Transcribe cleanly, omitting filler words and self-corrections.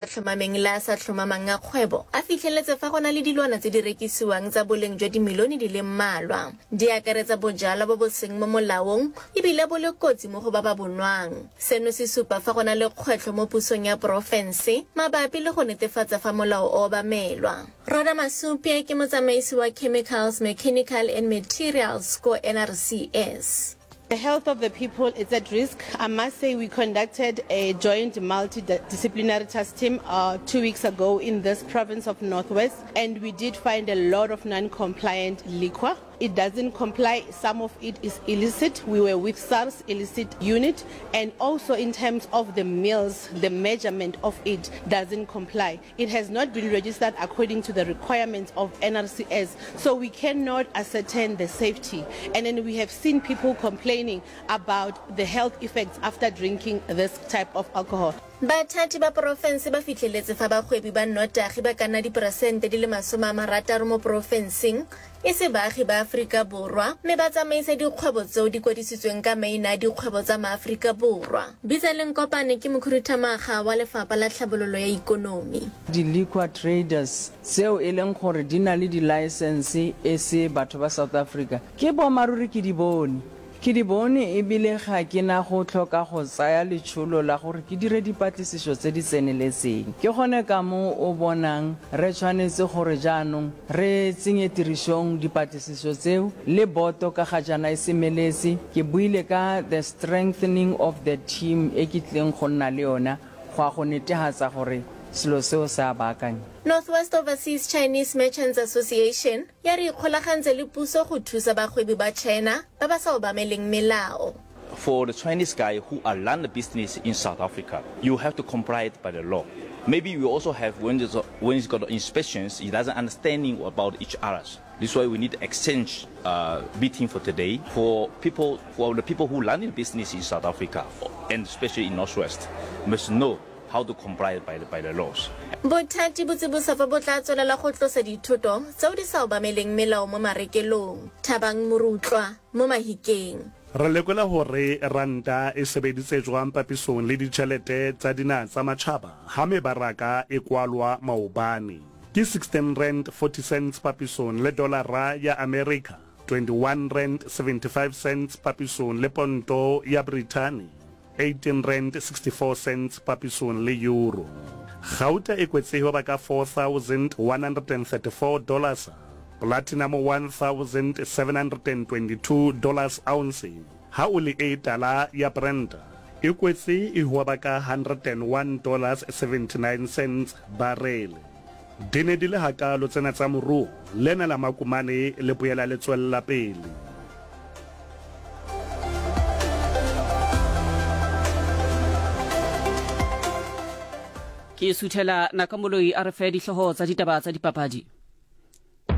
Tlhomameng le a sa tlhomamang a kgwebo a fitlheletse fa go na le dilwana tse di rekisiwang tsa boleng jwa dimilione di le mmalwa. Di akaretsa bojalwa bo bo seng mo molaong e bile bo le kotsi mo go ba ba bo nwang. Seno se supa fa go na le kgwetlho mo pusong ya porofense mabapi le go netefatsa fa molao o obamelwa. Rhoda Masupye ke motsamaisi wa Chemicals, Mechanical and Materials ko NRCS. The health of the people is at risk. I must say we conducted a joint multidisciplinary task team uh, two weeks ago in this province of Northwest and we did find a lot of non-compliant liquor. It doesn't comply, some of it is illicit. We were with SARS illicit unit and also in terms of the mills, the measurement of it doesn't comply. It has not been registered according to the requirements of NRCS, so we cannot ascertain the safety. And then we have seen people complaining about the health effects after drinking this type of alcohol. Bathati ba porofense ba fihleletse fa bagwebi ba nnotagi ba ka nna diperesente di le 60 mo porofenseng e se baagi ba Aforika Borwa mme ba tsamaisa dikgwebo tseo di kwadisitsweng ka maina a dikgwebo tsa maAforika Borwa. Bitsaleng Kopane ke mokhuduthamaga wa Lefapha la Tlhabololo ya Ikonomi. Di-liquor traders tseo e leng gore di na le di-licence e se batho ba South Africa, ke boammaaruri ke di bone. Ke di bone e bile ga ke na go tlhoka go tsaya letšholo la gore ke dire dipatlisišo tse di tseneletseng. Ke gone ka moo o bonang re tshwanetse gore jaanong re tsenye tirišong dipatlisišo tseo le boto ka ga jaana e semeletse. Ke buile ka the strengthening of the team e ke tlileng go nna le yona go ya go netehatsa gore selo seo se a baakanywa. North West Overseas Chinese Merchants Association ya re ikgolagantse le puso go thusa bagwebi ba China ba ba sa obameleng melao. For the Chinese guy who are run the business in South Africa, you have to comply it by the law. Maybe we also have when there's a, when it's got inspections, he doesn't understanding about each others. This why we need exchange uh, meeting for today for people for the people who run the business in South Africa and especially in Northwest must know how to comply by the, by the laws. Bothati bo tsibosa fa bo tla tswelela go tlosa dithoto tseo di sa obameleng melao mo marekelong. Thabang Morutlwa mo Mahikeng. Re lekola hore ranta e sebeditse jwang papisong le ditjhelete tsa dinaha tsa matjhaba ha mebaraka e kwalwa maobane. Ke 16 rand 40 cents papisong le dolara ya Amerika, 21 rand 75 cents papisong le ponto ya Brithani, 18 rand 64 cents papisong le euro. Gauta e kwetse ho ba ka 4,134 dollars, platinum 1,722 dollars ounce, ha oli e tala ya Brent e kwetse e hwaba ka 101 dollars 79 cents barele. Di ne di le hakaalo tsena tsa moruo, lena la Makumane le boela le tswella pele. Ke suthela Nakamoloi a re fe dihlooho tsa ditaba tsa dipapadi.